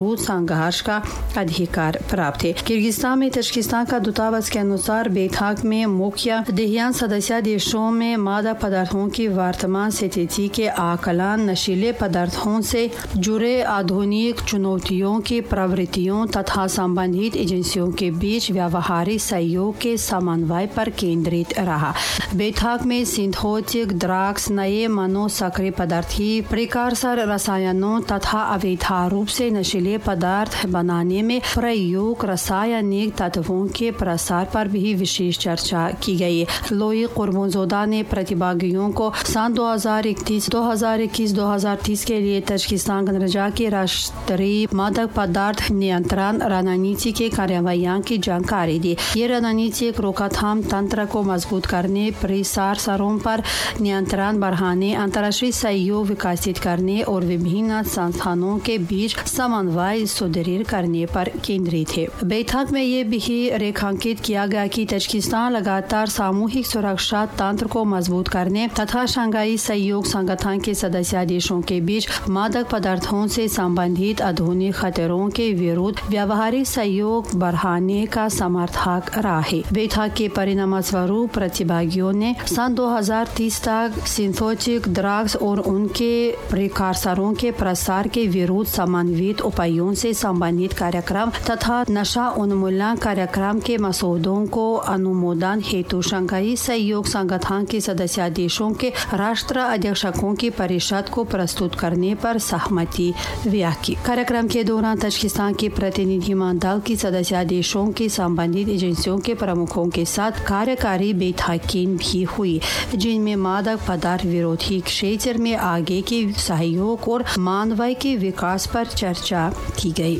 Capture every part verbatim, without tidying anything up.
संघर्ष का अधिकार प्राप्त है। किर्गिस्तान में तजकिस्तान का दूतावास के अनुसार बैठक में मुख्य ध्यान सदस्य देशों में मादक पदार्थों की वर्तमान स्थिति के आकलन, नशीले पदार्थों से जुड़े आधुनिक चुनौतियों की प्रवृत्तियों तथा संबंधित एजेंसियों के बीच व्यावहारिक सहयोग के समन्वय पर केंद्रित रहा। बैठक में सिंथेटिक ड्रग्स, नए मनोसक्रिय पदार्थ, प्रिकर्सर रसायनों तथा अवैध रूप से नशीले पदार्थ बनाने में प्रयोग रासायनिक तत्वों के प्रसार पर भी विशेष चर्चा की गई। लोई कुर्बनज़ोदा ने प्रतिभागियों को साल दो हज़ार इकतीस, दो हज़ार इक्कीस, दो हज़ार तीस के लिए तजकिस्तान गणराज्य की राष्ट्रीय मादक पदार्थ नियंत्रण रणनीति के कार्यान्वयन की जानकारी दी। ये रणनीति एक रोकथाम तंत्र को मजबूत करने, प्रसार पर नियंत्रण बढ़ाने, अंतर्राष्ट्रीय सहयोग विकसित करने और विभिन्न संस्थानों के बीच समन्वय सुदृढ़ करने पर केंद्रित है। बैठक में ये भी रेखांकित किया गया कि तजकिस्तान लगातार सामूहिक सुरक्षा तंत्र को मजबूत करने तथा शंघाई सहयोग संगठन के सदस्य देशों के बीच मादक पदार्थों से संबंधित आधुनिक खतरों के विरुद्ध व्यावहारिक सहयोग बढ़ाने का समर्थक रहा है। बैठक के परिणामस्वरूप प्रतिभागियों ने सन दो हज़ार तीस तक सिंथेटिक ड्रग्स और उनके प्रिकर्सरों के प्रसार के विरुद्ध समन्वित उपायों से संबंधित कार्यक्रम तथा नशा उन्मूलन कार्यक्रम के मसौदों को अनुमोदन हेतु शंघाई सहयोग संगठन के सदस्य देशों के राष्ट्र अध्यक्षों की परिषद को प्रस्तुत करने पर सहमति व्यक्त की। कार्यक्रम के दौरान तजकिस्तान के प्रतिनिधिमंडल की सदस्य देशों के संबंधित एजेंसियों के प्रमुखों के साथ कार्यकारी बैठकें भी हुई, जिनमें मादक पदार्थ विरोधी क्षेत्र में आगे के सहयोग और मानवीय के विकास पर चर्चा की गई।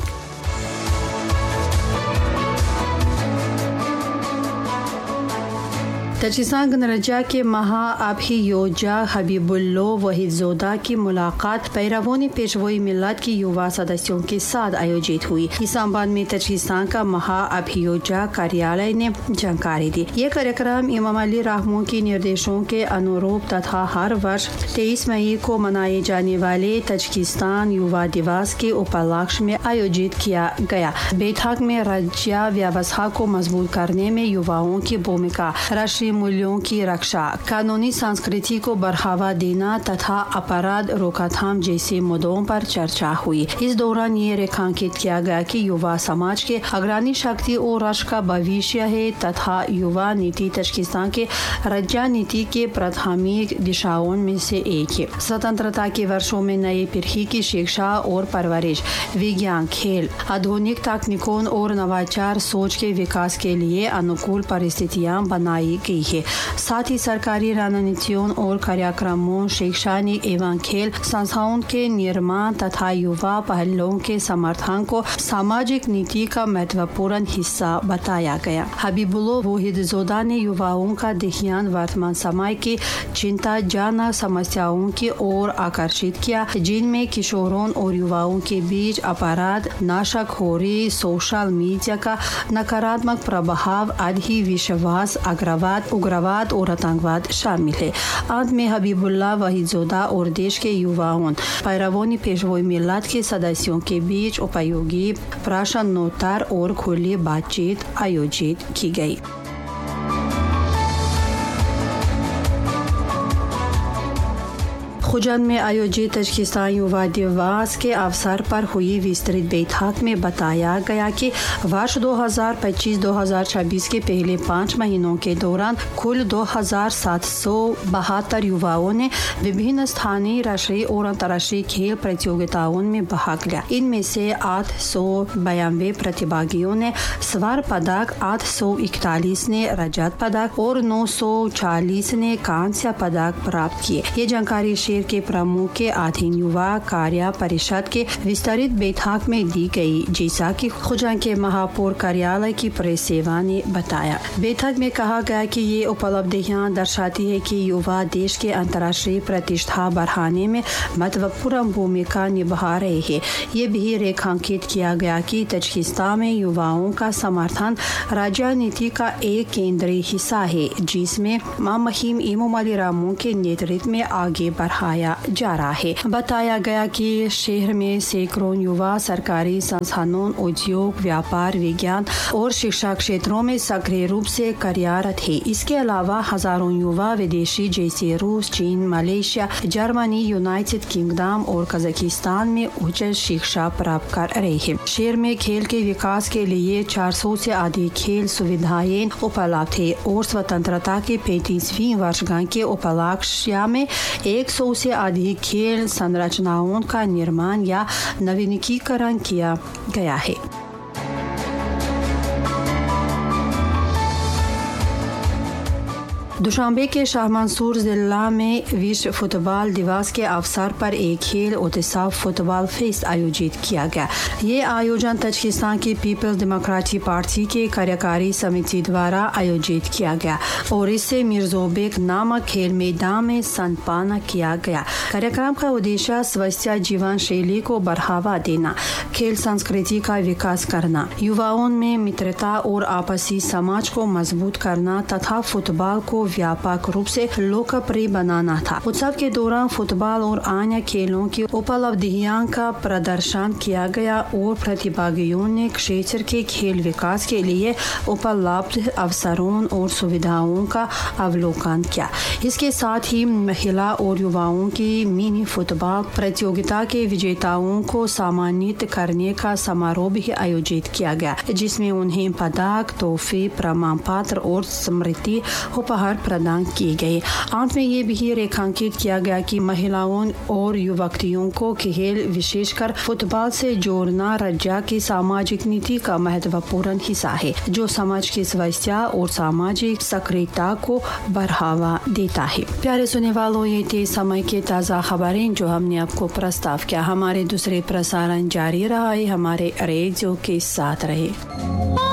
तजकिस्तान गणराज्य के महाअभियोजक हबीबुल्लो वहीदज़ोदा की मुलाकात पैरवों पेशवाई मिल्लत की युवा सदस्यों के साथ आयोजित हुई। इस संबंध में तजकिस्तान का महाअभियोजक कार्यालय ने जानकारी दी। ये कार्यक्रम इमाम अली रहमान के निर्देशों के अनुरूप तथा हर वर्ष तेईस मई को मनाए जाने वाले तजकिस्तान युवा दिवस के उपलक्ष्य में आयोजित किया गया। बैठक में राज्य व्यवस्था को मजबूत करने में युवाओं की भूमिका, राष्ट्रीय मूल्यों की रक्षा, कानूनी संस्कृति को बढ़ावा देना तथा अपराध रोकथाम जैसे मुद्दों पर चर्चा हुई। इस दौरान ये रेखांकित किया गया कि युवा समाज के अग्रणी शक्ति और राष्ट्र का भविष्य है तथा युवा नीति तजकिस्तान के राज्य नीति के प्राथमिक दिशाओं में से एक है। स्वतंत्रता के वर्षों में नई पीढ़ी की शिक्षा और परवरिश, विज्ञान, खेल, आधुनिक तकनीकों और नवाचार सोच के विकास के लिए अनुकूल परिस्थितियां बनाई गई है। साथ ही सरकारी रणनीतियों और कार्यक्रमों, शैक्षणिक एवं खेल संस्थाओं के निर्माण तथा युवा पहलों के समर्थन को सामाजिक नीति का महत्वपूर्ण हिस्सा बताया गया। हबीबुल्लो वहीदज़ोदा ने युवाओं का ध्यान वर्तमान समय की चिंताजनक समस्याओं की ओर आकर्षित किया, जिनमें किशोरों और युवाओं के बीच अपराध, नशाखोरी, सोशल मीडिया का नकारात्मक प्रभाव, आदि विश्वास, अग्रवाद, उग्रवाद और आतंकवाद शामिल है। अंत में हबीबुल्ला वहीदज़ोदा और देश के युवाओं, पैरवों पेशवाई मिल्लत के सदस्यों के बीच उपयोगी प्रश्नोत्तर और खुली बातचीत आयोजित की गई। खुजंद में आयोजित तजकिस्तान युवा दिवस के अवसर पर हुई विस्तृत बैठक में बताया गया कि वर्ष दो हज़ार पच्चीस दो हज़ार छब्बीस के पहले पाँच महीनों के दौरान कुल दो हज़ार सात सौ बहत्तर युवाओं ने विभिन्न स्थानीय, राष्ट्रीय और अंतर्राष्ट्रीय खेल प्रतियोगिताओं में भाग लिया। इनमें से आठ सौ बयानवे प्रतिभागियों ने स्वर्ण पदक, आठ सौ इकतालीस ने रजत पदक और नौ सौ चालीस ने कांस्य पदक प्राप्त किए। ये जानकारी शेर के प्रमुख के अधीन युवा कार्य परिषद के विस्तारित बैठक में दी गई, जैसा कि खुजंद के महापौर कार्यालय की प्रेस सेवा ने बताया। बैठक में कहा गया कि ये उपलब्धियां दर्शाती है कि युवा देश के अंतर्राष्ट्रीय प्रतिष्ठा बढ़ाने में महत्वपूर्ण भूमिका निभा रहे हैं। ये भी रेखांकित किया गया कि तजकिस्तान में युवाओं का समर्थन राज्य नीति का एक केंद्रीय हिस्सा है, जिसमें महामहिम इमोमाली रहमोन के नेतृत्व में आगे बढ़ा बढ़ाया जा रहा है। बताया गया कि शहर में सैकड़ों युवा सरकारी संस्थानों, उद्योग, व्यापार, विज्ञान और शिक्षा क्षेत्रों में सक्रिय रूप से कार्यरत है। इसके अलावा हजारों युवा विदेशी जैसे रूस, चीन, Malaysia, Germany, United kingdom और कजाकिस्तान में उच्च शिक्षा प्राप्त कर रहे हैं। शहर में खेल के विकास के लिए चार सौ से अधिक खेल सुविधाएं उपलब्ध है और स्वतंत्रता के पैंतीसवीं वर्षगांठ के उपलक्ष्य में एक सौ से अधिक खेल संरचनाओं का निर्माण या नवीनीकरण किया गया है। दुशांबे के शाह मंसूर जिला में विश्व फुटबॉल दिवस के अवसर पर एक खेल उत्सव फुटबॉल फेस्ट आयोजित किया गया। ये आयोजन ताजिकिस्तान की peoples democratic party के कार्यकारी समिति द्वारा आयोजित किया गया और इसे मिर्जोबेक नामक खेल मैदान में संपन्न किया गया। कार्यक्रम का उद्देश्य स्वस्थ जीवन शैली को बढ़ावा देना, खेल संस्कृति का विकास करना, युवाओं में मित्रता और आपसी समाज को मजबूत करना तथा फुटबॉल को व्यापक रूप से लोकप्रिय बनाना था। उत्सव के दौरान फुटबॉल और अन्य खेलों की उपलब्धियों का प्रदर्शन किया गया और प्रतिभागियों ने क्षेत्र के खेल विकास के लिए उपलब्ध अवसरों और सुविधाओं का अवलोकन किया। इसके साथ ही महिला और युवाओं की मिनी फुटबॉल प्रतियोगिता के विजेताओं को सम्मानित करने का समारोह भी आयोजित किया गया, जिसमें उन्हें पदक, तोहफे, प्रमाण पत्र और स्मृति उपहार प्रदान किए गए। अंत में ये भी रेखांकित किया गया कि महिलाओं और युवतियों को खेल, विशेषकर फुटबॉल से जोड़ना राज्य की सामाजिक नीति का महत्वपूर्ण हिस्सा है, जो समाज की स्वास्थ्य और सामाजिक सक्रियता को बढ़ावा देता है। प्यारे सुनने वालों, ये थे समय के ताज़ा खबरें जो हमने आपको प्रस्ताव किया। हमारे दूसरे प्रसारण जारी रहा है, हमारे रेडियो के साथ रहे।